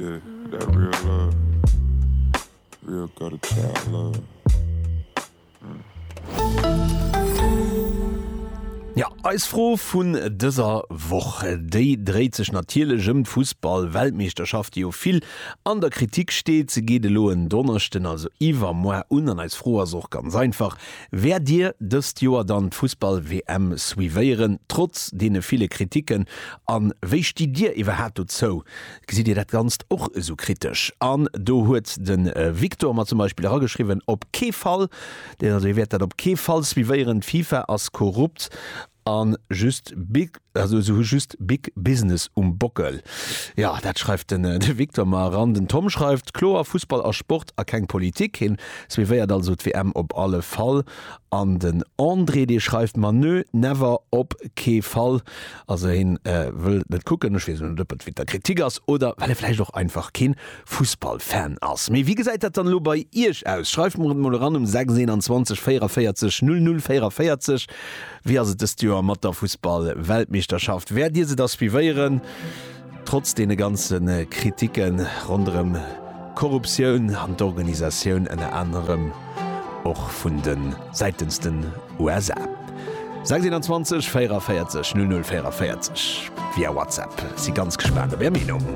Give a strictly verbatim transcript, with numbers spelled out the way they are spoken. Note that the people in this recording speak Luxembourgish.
Yeah, that real love. Real gutter child love. Ja, eis Fro vun dëser Woch, déi dréit sech natierlech ëm d'Fussball-Weltmeeschterschaft, déi jo vill an der Kritik steet. Se geet elo en Donneschden, also iwwermoar, un. An eis Fro ass och ganz einfach, Wäert Dir dëst Joer dann d'Fussball-W M suivéieren, trotz deene ville Kritiken? A wéi stitt Dir iwwerhaapt dozou? Gesitt Dir dat Ganzt och esou kritesch? An do huet de Victor mer zum Beispill erageschriwwen, Op kee Fall! Deen also hie wäert dat op kee Fall suivéieren, d'FIFA ass korrupt a just big, also se hu just big business um Bockel. Jo, dat schreift den de Victor mer eran. Den Tom schreift, Kloer, Fussball ass Sport a keng Politik. Hien suivéiert also d'W M op alle Fall. An den André, dee schreift mer, Nö, never, op kee Fall. Also hien wëll et net kucken. Ech weess elo net, ob et wéint der Kritik ass oder well e vläicht och einfach keen Fussballfan ass. Mee wéi gesäit dat dann elo bei iech aus? Schreift mer et mol eran um sechs eenanzwanzeg véierevierzeg null null véierevierzeg. Wéi ass et dëst Joer mat der Fussballweltmeeschterschaft? Wäert dir se da suivéieren, trotz deene ganze Kritikke ronderëm d'Korruptioun an d'Organisatioun ënner anerem och vun de säitens den U S A? sechs eenanzwanzeg véierevierzeg null null véierevierzeg via WhatsApp. Si ganz gespaant op är Meenung.